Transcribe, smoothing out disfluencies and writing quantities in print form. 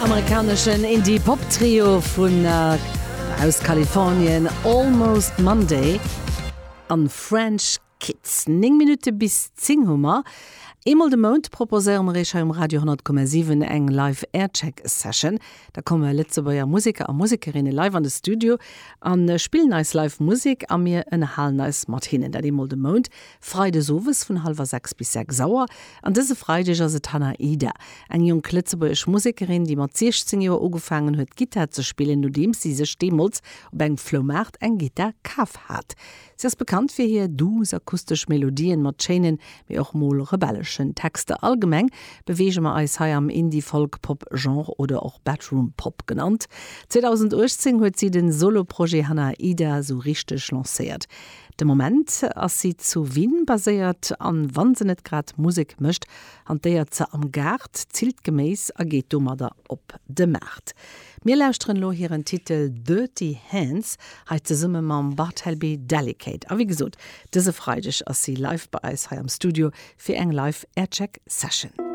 Amerikaneschen Indie-Pop-Trio vun aus Kalifornien, Almost Monday an French Kids. 9 Minutte bis 10 hu mer. Eemol de Mount proposéiere mer iech hei um Radio 10,7 eng Live Aircheck Session. Da komme Lëtzebuerger Museker a Musekerinne live an de Studio a spillen eis live Musek a mir ënnerhalen eis mat hinnen. Dat eemol de Mount, freides owes vun hallwer 6 bis 6 Auer. An dëse Freideg ass et Hannah Ida, eng jonk lëtzebuergesch Musekerin, déi mat 16 Joer ugefaangen huet Gittar ze spillen, nodeems si sech deemools op engem Floumaart eng Gittar kaf hat. Si ass bekannt fir hir douce akustesch Melodien mat schéinen, mee och mol rebelleschen Texter. Allgemeng beweege mer eis hei am Indie-Folk-Pop-Genre oder och Bedroom Pop genannt. 2018 huet si den Solo-Projet Hannah Ida sou richteg lancéiert. De Moment ass si zu Wien baséiert an wann se net grad Musek mécht, hantéiert se am Gaart, zillt Geméis a geet domadder op de Maart. Mir lauschteren elo hiren Titel Dirty Hands, hei zesumme mam Bartleby Delicate. A wéi gesot, dëse Freideg ass si live bei eis hei am Studio fir eng live Aircheck Session.